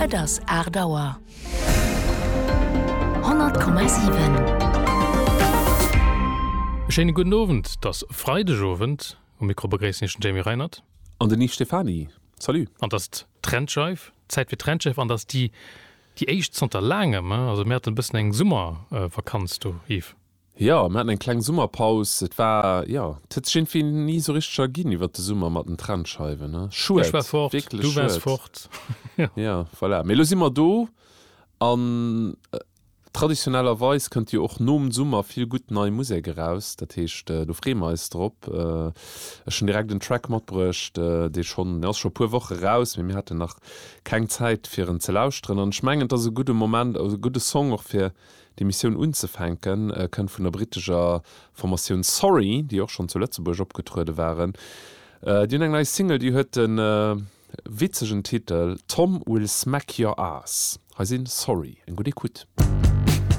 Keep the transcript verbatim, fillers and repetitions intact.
Et ass aacht Auer. Honnert Komma siwen. E schéine gudden Owend, et ass Freidegowend. Um Mikro begréissen Iech den Jamie Reinert. An den Yves Stephany. Salut. An et ass d'Trendscheif, Zäit fir d'Trendscheif an et ass déi déi éischt zanter laangem. Also mir haten e bëssen eng Summervakanz do, Yves. Jo, mir haten eng kleng Summerpaus. Et war, jo, et huet sech iergendwéi ni esou richteg erginn iwwert de Summer mat den Trennscheiwen, ne? Schued, Ech war fort, wierklech du waars schued. fort. Jo, voilà. Mee elo si mer do an traditionellerweis kënnt jo och nom Summer vill gutt nei Musek eraus. Dat heescht, do freeë mer eis drop. Ech hunn direkt en Track matbruecht, dee schonn, deen ass scho e puer Woche raus, mee mir haten nach keng Zäit fir en ze lauschteren. An ech mengen, et ass e gudde Moment, e gudde Song och fir D'Emissioun unzefänken kënnt vun der brittescher Formatioun Sorry, déi och schonn zu Lëtzebuerg opgetruede waren. Déi hunn eng nei Single, déi huet de witzegen Titel Tom Will Smack Your Ass. Hei sinn Sorry. Eng gutt Ecoute.